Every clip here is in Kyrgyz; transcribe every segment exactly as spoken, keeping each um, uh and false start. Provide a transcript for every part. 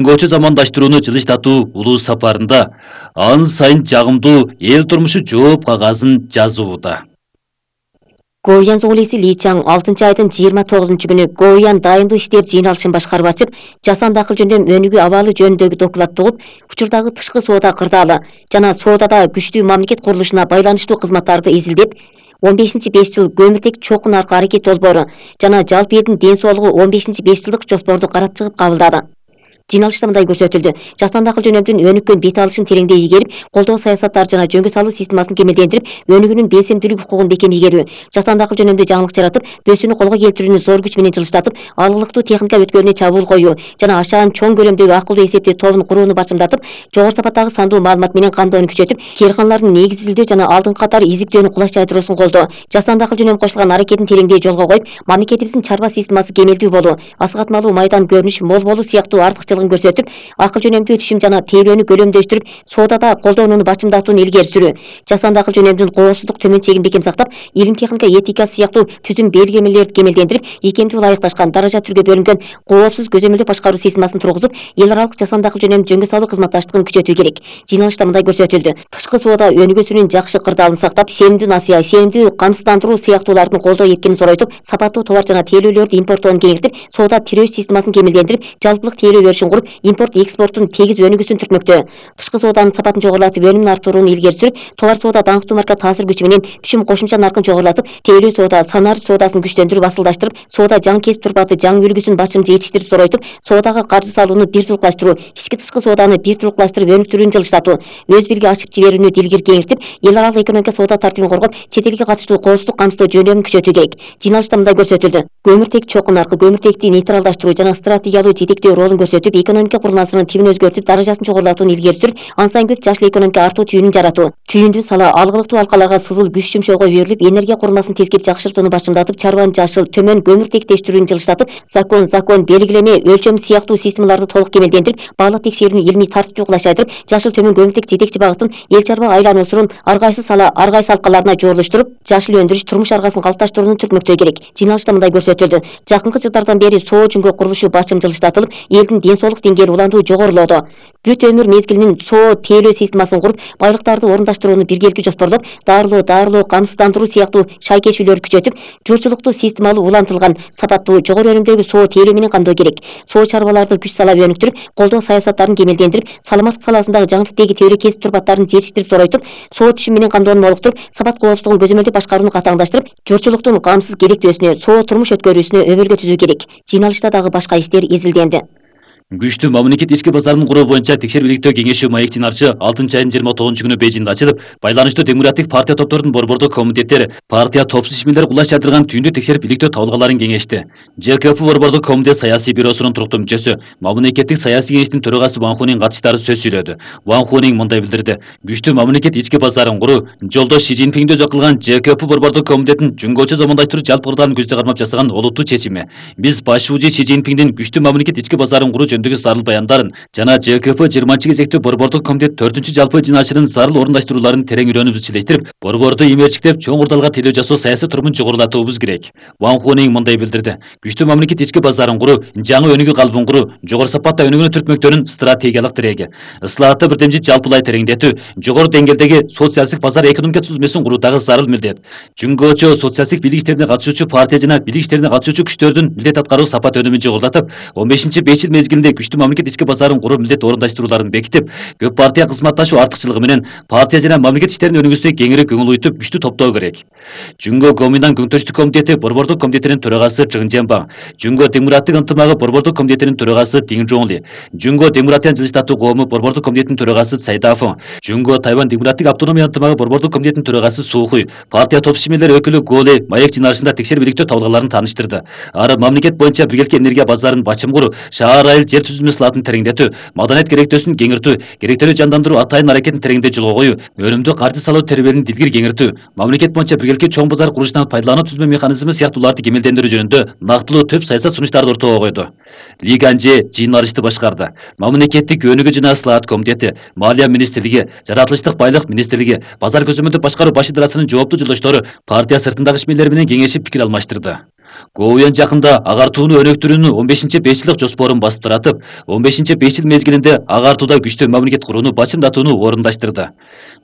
Көчө замандаштырууну жылыштатуу улуу сапарында ан сайын жагымдуу эл турмушу жооп кагазын жазууда. Гоуян зоңлиси Ли Чаң алтынчы айдын жыйырма тогузунчу күнү Гоуян дайындуу иштер жыйналышын башкарып ачып, жасанды акыл жөндөм өнүгүү абалы жөнүндөгү докладты угуп, учурдагы тышкы соода кырдаалы жана соодада күчтүү мамлекет курулушуна байланыштуу кызматтарды изилдеп, он бешинчи беш жыл көмүртек чокун аркы аракет долбоору жана жалпы элдин ден соолугу он бешинчи беш жылдык жоспорду карап чыгып кабылдады. Жыйналышта мындай көрсөтүлдү. Жасанды акыл жөнөмдүн өнүккөн бет алышын тереңдей ийгерип, колдоо саясаттары жана жөнгө салуу системасын кемелдендирип, өнүгүүнүн белсемдүүлүк укугун бекем ийгерүү, жасанды акыл жөнөмдүү жаңылык жаратып, бөөсүүнү колго келтирүүнү зор күч менен жылыштатып, алгылыктуу техника өткөлүнө чабуул коюу жана ашаан чоң көлөмдөгү акылдуу эсептөө тобун курууну башымдатып, жогору сапаттагы сандуу маалымат менен камдоону күчөтүп, кээрканалардын негиз изилдөө жана алдыңкы катар изиктөөнү кулаш жайдыруусун колдоо, жасанды акыл жөнөм кошулган аракетин тереңдей жолго коюп, мамлекетибиздин чарба системасы кемелдүү болуу, асыгатмалуу майдан көрүнүш мол болуу сыяктуу артыкчылыгын көрсөтүп, акыл жөнөмдүү түшүм жана тейлөөнү көлөмдөштүрүп, соодада колдонууну башымдатууну илгери сүрүү, жасанды акыл жөнөмдүн коопсуздук төмөн чегин бекем сактап, илим техника этикасы сыяктуу түзүм белгилемелерди кемелдендирип, икемдүү ылайыкташкан даража түргө бөлүнгөн коопсуз көзөмөлдөө башкаруу системасын тургузуп, эл аралык жасанды акыл жөнөм жөнгө салуу кызматташтыгын күчөтүү керек. Жыйналышта мындай көрсөтүлдү. Тышкы соода өнүгүүсүнүн жакшы кырдаалын сактап, сенимдүү насыя, сенимдүү камсыздандыруу сыяктуулардын колдоо эркинин зоройтуп, сапаттуу товар жана тейлөөлөрдү импорттоону кеңейтип, соода тирөөш системасын кемелдендирип, жалпылык тейлөө өрүшүн куруп, импорт экспорттун тегиз өнүгүүсүн түртмөктө. Тышкы сооданын сапатын жогорулатып, өнүмүн арттырууну илгери сүрүп, товар соода даңктуу марка таасир күчү менен түшүм кошумча наркын жогорулатып, тейлөө соода, санарип соодасын күчтөндүрүп, асылдаштырып, соода жаңы кесип турпаты жаңы үлгүсүн башымча жетиштирип зоройтуп, соодага каржы салууну бир тулукташтыруу, ички тышкы сооданы бир тулукташтырып өнүктүрүүнү жылыштатуу, өз бириги ачып жиберүүнү дилгир кеңиртип, эл аралык экономика соода тартибин коргоп, чет элге катыштуу коопсуздук камсыздоо жөндөмүн күчөтүү керек. Жыйналышта мындай көрсөтүлдү. Көмүртек чокун аркы көмүртекти нейтралдаштыруу жана стратегиялуу жетектөө ролун көрсөтүп, экономика курмасынын тибин өзгөртүп, даражасын чогорулатууну илгери сүрүп, ан сайын көп жашыл экономика артуу түйүнүн жаратуу, түйүндүү сала алгылыктуу алкаларга сызыл күч жумшоого үйрүлүп, энергия курмасын тескеп жакшыртууну башымдатып, чарбанын жашыл, төмөн көмүртектештирүүнү жылыштатып, закон, закон, белгилеме, өлчөм сыяктуу системаларды толук кемелдендирип, баалап текшерүүнү илмий тартиптүү кулаш жайдырып, жашыл төмөн көмүртек жетекчи багытын эл чарба айлануусун ар кайсы сала, ар кайсы алкаларына жорулуштуруп, жашыл өндүрүш турмуш аргасын калыпташтырууну түртмөктөө керек. Жыйналышта мындай көрсөтүлдү. Жакынкы жылдардан бери соо жүнгө курулушу башым жылыштатылып, элдин ден соолук деңгээли уландуу жогорулоодо. Бүт өмүр мезгилинин соо тейлөө системасын куруп, байлыктарды орундаштырууну биргеликти жоспорлоп, дарылоо, дарылоо, камсыздандыруу сыяктуу шайкешүүлөрдү күчөтүп, журтчулукту системалуу улантылган, сапаттуу, жогору өнүмдөгү соо тейлөө менен камдоо керек. Соо чарбаларды күч сала өнүктүрүп, колдоо саясаттарын кемелдендирип, саламаттык саласындагы жаңы типтеги тейлөө кесип турпаттарын жетиштирип зоройтуп, соо түшүм менен камдоону молуктуруп, сапат коопсуздугун көзөмөлдөп башкарууну катаңдаштырып, журтчулуктун камсыз керектөөсүнө, соо турмуш өткөрүүсүнө өбөлгө түзүү керек. Жыйналышта дагы башка иштер изилденди. Күчтүү мамлекет ички базарынын куруу боюнча текшербиликтөө кеңеши маек жыйналышы алтынчы айдын жыйырма тогузунчу күнү Бейжиңде ачылып, байланыштуу демократик партия топторунун борбордук комитеттери партия топсуз ишмерлер кулаш жайдырган түйүндү текшерип иликтөө табылгаларын кеңешти. Ж К П борбордук комитет саясий бюросунун туруктуу мүчөсү, мамлекеттик саясий кеңештин төрагасы Ван Хунин катышкычтары сөз сүйлөдү. Ван Хунин мындай билдирди. Күчтүү мамлекет ички базарын куруу жолдош Ши Цзиньпиңди өзү кылган Ж К П борбордук комитеттин жүнгөчө замандаштыруу жалпы кырдаалын көздөй кармап жасаган олуттуу чечими. Биз башчыбыжы Ши Цзиньпиңдин күчтүү мамлекет ички базарын куруу жөнүндөгү зарыл баяндар жана Ж К П жыйырманчы кезектүү борбордук комитет төртүнчү жалпы жыйналышынын зарыл орундаштырууларын терең үйрөнүп изчилештирип, борборду имерчиктеп, чоң курдалга тейлөө жасоо саясий турумун жогорулатуубуз керек. Ван Хунин мындай билдирди. Күчтүү мамлекет ички базарын куруу, жаңы өнүгүү калыбын куруу, жогору сапатта өнүгүүнү түртмөктөрүн стратегиялык тиреги. Ыслаатты бирдемчи жалпылай тереңдетүү, жогору деңгээлдеги социалдык базар экономика түзүлмөсүн куруу дагы зарыл милдет. Жүнгөчө социалдык бийлик иштерине катышуучу партия жана бийлик иштерине катышуучу күчтөрдүн милдет аткаруу сапат өнүмүн жогорулатып, он бешинчи беш жыл мезгилинде күчтүү мамлекет ички базарын куруу милдет орундаштерууларын бекитип, көп партия кызматташуу артыкчылыгы менен партия жана мамлекет иштеринин өнүгүүсүнө кеңири көңүл уйтуп, күчтүү топтоо керек. Жүнгө Гоминдан Көңтөштүк комитети борбордук комитетинин төрагасы Чжың Женбаң, Жүнгө демократик ынтымагы борбордук комитетинин төрагасы Дин Жоңли, Жүнгө демократиянын жылыштатуу коому борбордук комитетинин төрагасы Цай Дафың, Жүнгө Тайвань демократик автономия ынтымагы борбордук комитетинин төрагасы Су Хуй, партия топ ишмерлери өкүлү Голе маек жыйналышында текшербиликтөө табылгаларын тааныштырды. Ары мамлекет боюнча биргеликке энергия базарын бачым куруу, шаар айыл жер түзүлмө сылаатын тереңдетүү, маданият керектөөсүн кеңиртүү, керектелүү жандандыруу атайын аракетин тереңдей жолго коюу, өнүмдүү каржы салуу тербелин дилгир кеңиртүү, мамлекет боюнча биргеликке чоң базар курушунан пайдалануу түзмө механизми сыяктууларды кемелдендирүү жөнүндө нактылуу төп саясат сунуштарды ортого койду. Ли Ганже жыйналышты башкарды. Мамлекеттик өнүгүү жана ыслаат комитети, Малия министрлиги, жаратылыштык байлык министрлиги, базар көзөмөлдүп башкаруу баш идарасынын жооптуу жолдоштору партия сыртындагы ишмерлер менен кеңешип пикир алмаштырды. Гоуян жакында агартууну өнүктүрүүнүн он бешинчи беш жылдык жоспорун басып таратып, он бешинчи беш жыл мезгилинде агартууда күчтүү мамлекет курууну бачымдатууну орундаштырды.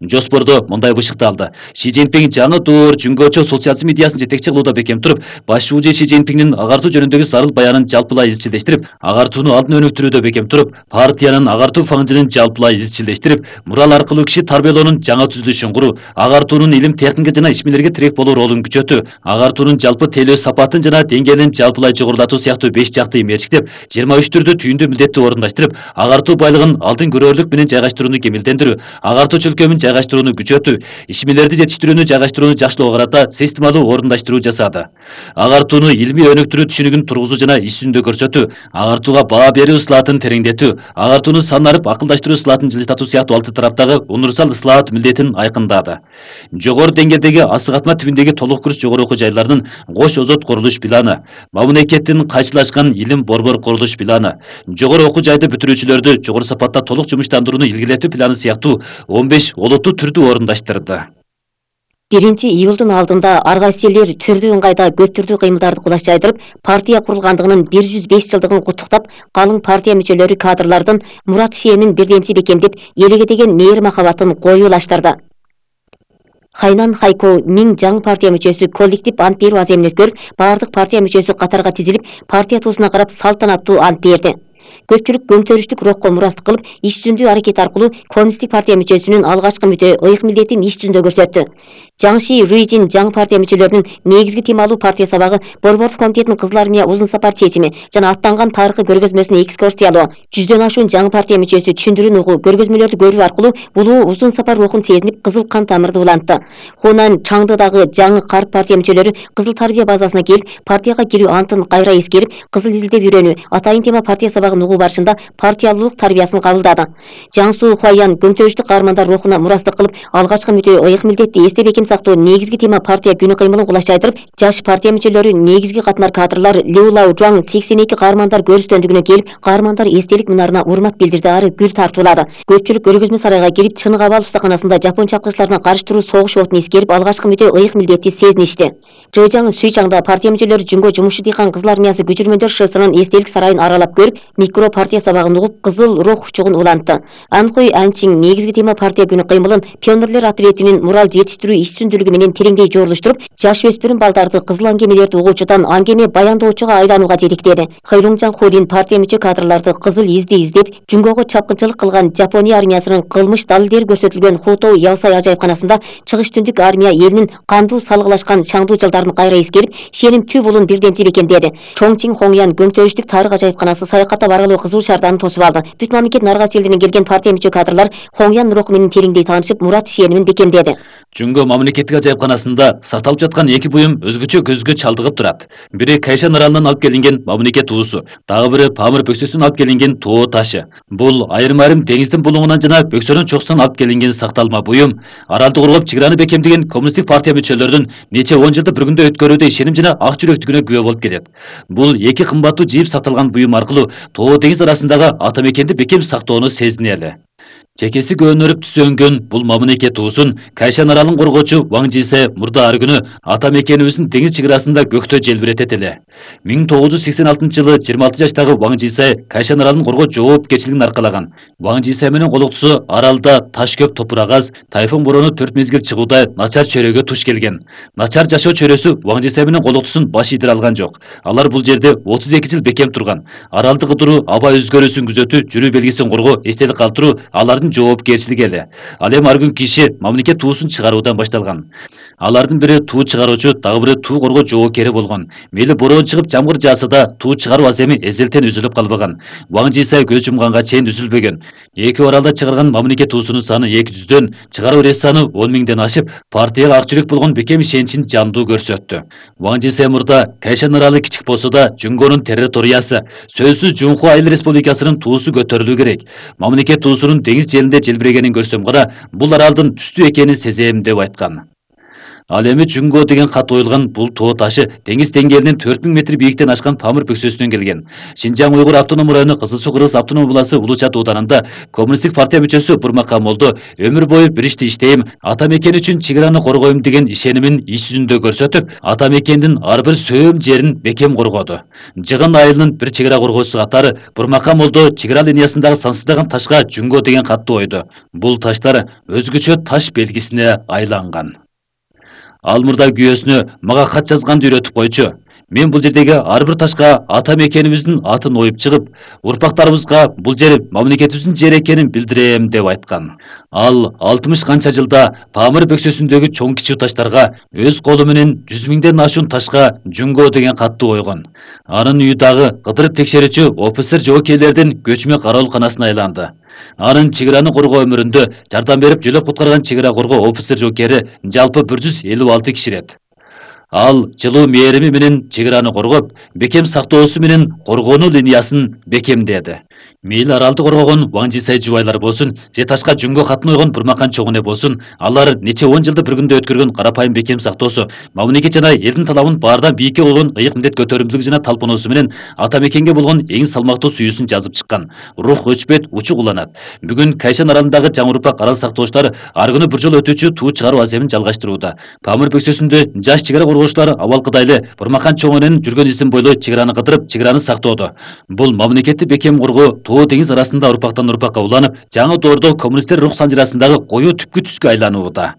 Жоспордо мындай бышыкталды: Ши Цзиньпин жаңы доор жүнгөчө социализм идеясын жетекчи кылууда бекем туруп, баш шүүжө Ши Цзиньпиндин агартуу жөнүндөгү зарыл баянын жалпылай изчилдештирип, агартууну алдын өнүктүрүүдө бекем туруп, партиянын агартуу фаңжынын жалпылай изчилдештирип, мурал аркылуу киши тарбиялоонун жаңа түзүлүшүн куруу, агартуунун илим, техника жана ишмерлерге тирек болуу ролун күчөтүү, агартуунун жалпы тейлөө сапатын жана деңгээлин жалпылай жогорулатуу сыяктуу беш жакты мерчиктеп, жыйырма үч түрдүү түйүндүү милдетти орундаштырып, агартуу байлыгын алдын көрөрлүк менен жайгаштырууну кемелдендирүү, агартуу чөлкөмүн жайгаштырууну күчөтүү, ишмерлерди жетиштирүүнү жайгаштырууну жакшылоого карата системалуу орундаштыруу жасады. Агартууну илимий өнүктүрүү түшүнүгүн тургузуу жана иш жүзүндө көрсөтүү, агартууга баа берүү ыслаатын тереңдетүү, агартууну санарып акылдаштыруу ыслаатын жылжытатуу сыяктуу алты тараптагы универсал ыслаат милдетин айкындады. Жогору деңгээлдеги асыгатма тибиндеги толук курс жогору окуу жайларынын кош озот курулуш планы, мамлекеттин кайчылашкан илим борбор курулуш планы, жогору окуу жайды бүтүрүүчүлөрдү жогору сапатта толук жумуштандырууну илгилетүү планы сыяктуу он беш олуттуу түрдү орундаштырды. биринчи июлдун алдында ар кайсы элдер түрдүү ыңгайда көп түрдүү кыймылдарды кулаш жайдырып, партия курулгандыгынын бир жүз беш жылдыгын куттуктап, калың партия мүчөлөрү кадрлардын Мурат Шиэнин бирдемчи бекемдеп, элге деген мээри махабатын коюулаштырды. Хайнан Хайко миң жаңы партия мүчөсү коллектив ант берүү аземин өткөрүп, баардык партия мүчөсү катарга тизилип, партия туусуна карап салтанаттуу ант берди. Көпчүлүк көмтөрүштүк рокко мурастык кылып, иш жүзүндүү аракет аркылуу коммунисттик партия мүчөсүнүн алгачкы мүтө ыйык милдетин иш жүзүндө көрсөттү. Жаңши Руижин жаңы партия мүчөлөрүнүн негизги темалуу партия сабагы, борбордук комитеттин Кызыл армия узун сапар чечими жана аттанган тарыхый көргөзмөсүнө экскурсиялоо, жүздөн ашуун жаңы партия мүчөсү түшүндүрүүнү угуу, көргөзмөлөрдү көрүү аркылуу булуу узун сапар рухун сезинип, кызыл кан тамырды улантты. Хунан Чаңдыдагы жаңы карт партия мүчөлөрү кызыл тарбия базасына келип, партияга кирүү антын кайра эскерип, кызыл изилдеп үйрөнүү, атайын тема партия сабагын угуу барышында партиялуулук тарбиясын кабылдады. Жаңсу Хуаян көмтөрүштүк каармандар рухуна мурастык кылып, алгачкы мүтө ыйык милдетти эсте бекем сактоо негизги тема партия күнү кыймылын кулаш жайдырып, жаш партия мүчөлөрү, негизги катмар кадрлар Лю Лау Жуаң сексен эки каармандар көрүстөндүгүнө келип, каармандар эстелик мунарына урмат билдирди, ары гүл тартуулады. Көпчүлүк көргөзмө сарайга кирип, чыныгы абал усаканасында жапон чапкычыларына каршы туруу согуш отун эскерип, алгачкы мүтө ыйык милдетти сезиништи. Жыжаң Суйчаңда партия мүчөлөрү Жүнгө жумушчу дыйкан Кызыл армиясы күчүрмөндөр шысынын эстелик сарайын аралап көрүп, микро партия сабагын угуп, кызыл рух учугун улантты. Анхой Анчин негизги тема партия күнү кыймылын пионерлер отрядынын мурал жетиштирүү иш жүзүндүүлүгү менен тереңдей жорулуштуруп, жаш өспүрүм балдарды кызыл аңгемелерди угуучудан аңгеме баяндоочуга айланууга жетектеди. Хайруңжан Худин партия мүчө кадрларды кызыл изди издеп, Жүнгөгө чапкынчылык кылган Жапония армиясынын кылмыш далилдери көрсөтүлгөн Хутоу Явсай ажайыпканасында чыгыш түндүк армия элинин кандуу салгылашкан чаңдуу жылдарын кайра эскерип, Шенин түп улун бирденчи бекемдеди. Чоңчин Хоңян көмтөрүштүк тарых ажайыпканасы саякаттап аралоо кызуу шаардарын тосуп алды. Бүт мамлекеттин ар кайсы элдеринен келген партия мүчө кадрлар Хоңян руху менен тереңдей таанышып, Мурат Шиэнин бекемдеди. Жүнгө мамлекеттик ажайыпканасында сакталып жаткан эки буюм өзгөчө көзгө чалдыгып турат. Бири Кайшан аралынан алып келинген мамлекет туусу, дагы бири Памыр бөксөсүнөн алып келинген тоо ташы. Бул айрым-айрым деңиздин булуңунан жана бөксөнүн чокусунан алып келинген сакталма буюм аралды курулуп чыгараны бекемдеген коммунисттик партия мүчөлөрүнүн нече он жылды бир күндө өткөрүүдө ишеним жана ак жүрөктүгүнө күбө болуп келет. Бул эки кымбаттуу жийип сакталган буюм аркылуу тоо деңиз арасындагы ата мекенди бекем сактоону сезинели. Чекеси көөнөрүп түсөнгөн бул мамлекет туусун Кайшан аралын коргоочу Ваң Жисе мурда ар күнү ата мекенибиздин деңиз чыгарасында көктө желбиретет эле. миң тогуз жүз сексен алтынчы жылы жыйырма алты жаштагы Ваң Жисе Кайшан аралын коргоо жоопкерчилигин аркалаган. Ваң Жисе менен колуктусу аралда таш көп топурак аз, тайфун бороону төрт мезгил чыгуудай начар чөрөгө туш келген. Начар жашоо чөрөсү Ваң Жисе менен колуктусун баш ийдире алган жок. Алар бул жерде отуз эки жыл бекем турган. Аралды кыдыруу, аба өзгөрүүсүн күзөтүү, жүрүү белгисин коргоо, эстелик калтыруу алардын жоопкерчилиги эле. Ал эми ар күн киши мамлекет туусун чыгаруудан башталган. Алардын бири туу чыгаруучу, дагы бири туу коргоо жоопкери болгон. Мейли бороон чыгып жамгыр жааса да туу чыгаруу аземи эзелтен үзүлүп калбаган. Ваң Жисе көз жумганга чейин үзүлбөгөн. Эки аралда чыгарган мамлекет туусунун саны эки жүздөн, чыгаруу рес саны он миңден ашып, партияга ак жүрөк болгон бекем ишеничин жандуу көрсөттү. Ваң Жисе мурда Кайшан аралы кичик болсо да Жүнгөнүн территориясы, сөзсүз Жунху Айыл Республикасынын туусу көтөрүлүү керек. Мамлекет туусунун деңиз желинде желбирегенин көрсөм гана, бул аралдын түстүү экенин сезем деп айткан. Ал эми Жүнгө деген кат оюлган бул тоо ташы деңиз деңгээлинин төрт миң метр бийиктен ашкан Памыр бөксөсүнөн келген. Шинжаң уйгур автоном району Кызыл Суу Кыргыз автоном областы Улучат ууданында коммунисттик партия мүчөсү Бурмакан Молдо өмүр бою бир ишти иштейм, ата мекен үчүн чек араны коргойм деген ишенимин иш жүзүндө көрсөтүп, ата мекендин ар бир сөөм жерин бекем коргоду. Жыгын айылынын бир чек ара коргоочусу катары Бурмакан Молдо чек ара линиясындагы сансыздаган ташка Жүнгө деген катты ойду. Бул таштар өзгөчө таш белгисине айланган. Ал мурда күйөөсүнө мага кат жазганды үйрөтүп койчу. Мен бул жердеги ар бир ташка ата мекенибиздин атын оюп чыгып, урпактарыбызга бул жер мамлекетибиздин жери экенин билдирем деп айткан. Ал алтымыш канча жылда Памыр бөксөсүндөгү чоң кичүү таштарга өз колу менен жүз миңден ашуун ташка Жүнгө деген катты ойгон. Анын үйү дагы кыдырып текшерүүчү офицер жоокейлердин көчмө кароолканасына айланды. Анын чек араны коргоо өмүрүндө жардам берип жөлөп куткарган чек ара коргоо офицер жоокери жалпы бир жүз элүү алты киширет. Ал жылуу мээрими менен чек араны коргоп, бекем сактоосу менен коргонуу линиясын бекемдеди. Мейли аралды коргогон Ваңжисай жубайлар болсун, же ташка Жүнгө катын ойгон Бурмакан чоңуне болсун, алар нече он жылды бир күндө өткөргөн карапайым бекем сактоосу, мамлекет жана элдин талабын баардан бийикке болгон ыйык милдет көтөрүмдүүлүк жана талпоонусу менен ата мекенге болгон эң салмактуу сүйүүсүн жазып чыккан. Рух өчпөйт, учук уланат. Бүгүн Кайшан аралындагы жаңы урпак арал сактоочулар ар күнү бир жолу өтүүчү туу чыгаруу аземин жалгаштырууда. Памыр бөксөсүндө жаш чек ара коргоочулар абалкыдайлы Бурмакан чоңунун жүргөн изин бойлой чек араны кыдырып, чек араны сактоодо. Бул мамлекетти бекем коргоо тоо деңиз арасында урпактан урпакка уланып, жаңы доордо коммунисттер рух санжырасындагы коюу түпкү түскө айланууда.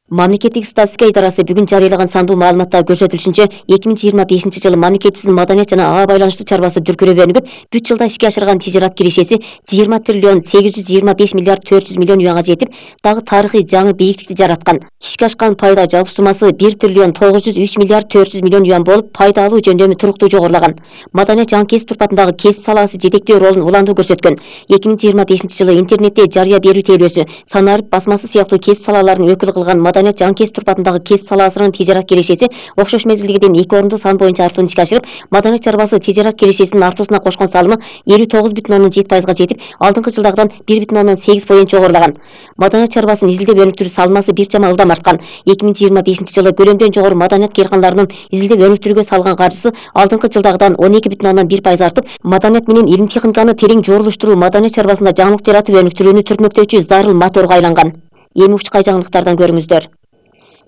Мамлекеттик статистика идарасы бүгүн жарыялаган сандуу маалыматта көрсөтүлүшүнчө эки миң жыйырма бешинчи жылы мамлекетибиздин маданият жана ага байланыштуу чарбасы дүркүрөп өнүгүп, бүт жылда ишке ашырган тижарат кирешеси жыйырма триллион сегиз жүз жыйырма беш миллиард төрт жүз миллион юанга жетип, дагы тарыхый жаңы бийиктикти жараткан. Ишке ашкан пайда жалпы суммасы бир триллион тогуз жүз үч миллиард төрт жүз миллион юан болуп, пайда алуу жөндөмү туруктуу жогорулаган. Маданият жаңы кесип турпатындагы кесип салаасы жетектөө ролун уландуу көрсөткөн. эки миң жыйырма бешинчи жылы интернетте жарыя берүү тейлөөсү, санарып басмасы сыяктуу кесип салаларын өкүл кылган маданият жаңы кесип турпатындагы кесип салаасынын тижарат кирешеси окшош мезгилдегиден эки орунду сан боюнча артууну ишке ашырып, маданият чарбасы тижарат кирешесинин артуусуна кошкон салымы элүү тогуз бүтүн ондон жети пайызга жетип, алдыңкы жылдагыдан бир бүтүн ондон сегиз поинт жогорулаган. Маданият чарбасын изилдеп өнүктүрүү салмасы бир чама ылдам арткан. эки миң жыйырма бешинчи жылы көлөмдөн жогору маданият кыйркандарынын изилдеп өнүктүрүүгө салган каржысы алдыңкы жылдагыдан он эки бүтүн ондон бир пайыз артып, маданият менен илим техниканы терең жорулуштуруу маданият чарбасында жаңылык жаратып өнүктүрүүнү түртмөктөөчү зарыл моторго айланган. Эми учкай жаңылыктардан көрүңүздөр.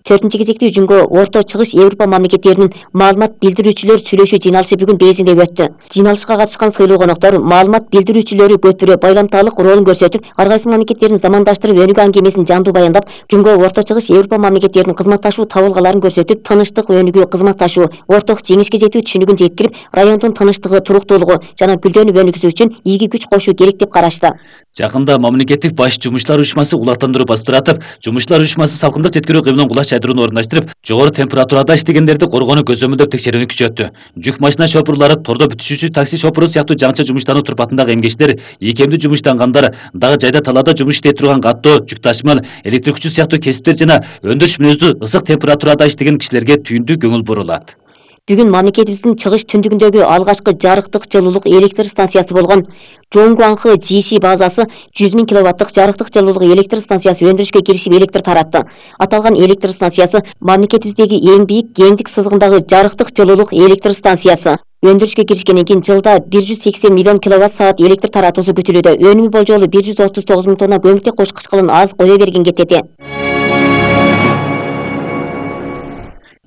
Төртүнчү кезекте Жүнгө Орто Чыгыш Европа мамлекеттеринин маалымат билдирүүчүлөр сүйлөшүү жыйналышы бүгүн Бейжиңде өттү. Жыйналышка катышкан сыйлуу коноктор маалымат билдирүүчүлөрү көпүрө байламталык ролун көрсөтүп, ар кайсы мамлекеттерин замандаштырып өнүгүү аңгемесин жандуу баяндап, Жүнгө Орто Чыгыш Европа мамлекеттеринин кызматташуу табылгаларын көрсөтүп, тынычтык, өнүгүү, кызматташуу, орток жеңишке жетүү түшүнүгүн жеткирип, райондун тынычтыгы, туруктуулугу жана гүлдөнүп өнүгүсү үчүн ийги күч кошуу керек деп карашты. Жакында мамлекеттик баш жумушчулар уюшмасы улаттандыруу бастыратып, жумушчулар уюшмасы салкындык жеткирүү кыймылын кулаш жайдырууну орундаштырып, жогору температурада иштегендерди коргоону көзөмөлдөп текшерүүнү күчөттү. Жүк машина шопурлары, тордо бүтүшүүчү такси шопуру сыяктуу жаңыча жумуштануу турпатындагы эмгечтер, ийкемдүү жумуштангандар, дагы жайда талаада жумуш иштей турган каттоо, жүк ташымал, электр күчү сыяктуу кесиптер жана өндүрүш мүнөздүү ысык температурада иштеген кишилерге түйүндүү көңүл бурулат. Бүгүн мамлекетибиздин чыгыш түндүгүндөгү алгачкы жарыктык жылуулук электр станциясы болгон Жоңгуаңкы Жиши базасы жүз миң киловаттык жарыктык жылуулук электр станциясы өндүрүшкө киришип электр таратты. Аталган электр станциясы мамлекетибиздеги эң бийик кеңдик сызыгындагы жарыктык жылуулук электр станциясы. Өндүрүшкө киришкенден кийин жылда бир жүз сексен миллион киловатт саат электр таратуусу күтүлүүдө. Өнүмү болжолу бир жүз отуз тогуз миң тонна көмүртек кош кычкылын аз кое берген кетети.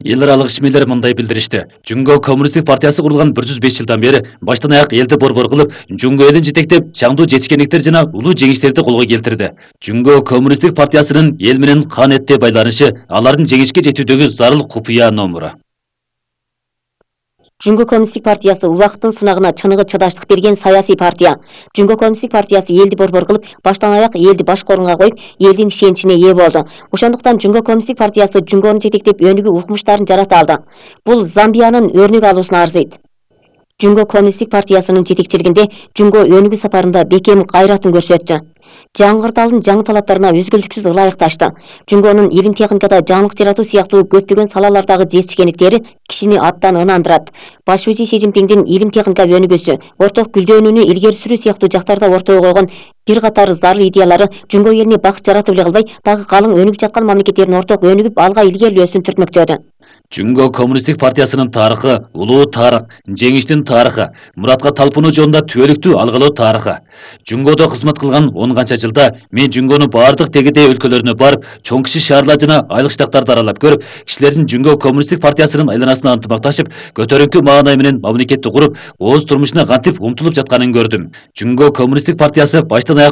Эл аралык ишмерлер мындай билдиришти. Жүнгө коммунисттик партиясы курулган бир жүз беш жылдан бери баштан аяк элди борбор кылып, Жүнгө элин жетектеп, чаңдуу жетишкендиктер жана улуу жеңиштерди колго келтирди. Жүнгө коммунисттик партиясынын эл менен кан этте байланышы алардын жеңишке жетүүдөгү зарыл купуя номуру. Жүнгө коммунисттик партиясы убакыттын сынагына чыныгы чыдаштык берген саясий партия. Жүнгө коммунисттик партиясы элди борбор кылып, баштан аяк элди башкы орунга коюп, элдин ишеничине ээ болду. Ошондуктан Жүнгө коммунисттик партиясы Жүнгөнү жетектеп өнүгүү укмуштарын жарата алды. Бул Замбиянын өрнөк алуусуна арзыйт. Жүнгө коммунисттик партиясынын жетекчилигинде Жүнгө өнүгүү сапарында бекем кайратын көрсөттү. Жаңгырталдын жаңы талаптарына өзгөлтүксүз ылайыкташты. Жүнгөнүн илим техникада жаңылык жаратуу сыяктуу көптөгөн салалардагы жетишкендиктери кишини абдан ынандырат. Баш вазир Си Цзиньпиңдин илим техника өнүгүүсү, орток гүлдөнүүнү илгери сүрүү сыяктуу жактарда ортого койгон бир катар зарыл идеялары Жүнгө элине бакыт жаратып эле калбай, дагы калың өнүгүп жаткан мамлекеттердин орток өнүгүп алга илгерилөөсүн түртмөктөдү. Жүнгө коммунисттик партиясынын тарыхы, улуу тарых, жеңиштин тарыхы, муратка талпынуу жолунда түбөлүктүү алгылоо тарыхы. Жүнгөдө кызмат кылган он канча жылда мен Жүнгөнүн баардык тегидей өлкөлөрүнө барып, чоң киши шаарлар жана айыл штаттарды аралап көрүп, кишилердин Жүнгө коммунисттик партиясынын айланасына ынтымакташып, көтөрүңкү маанай менен мамлекетти куруп, ооз турмушуна кантип умтулуп жатканын көрдүм. Жүнгө коммунисттик партиясы баштан аяк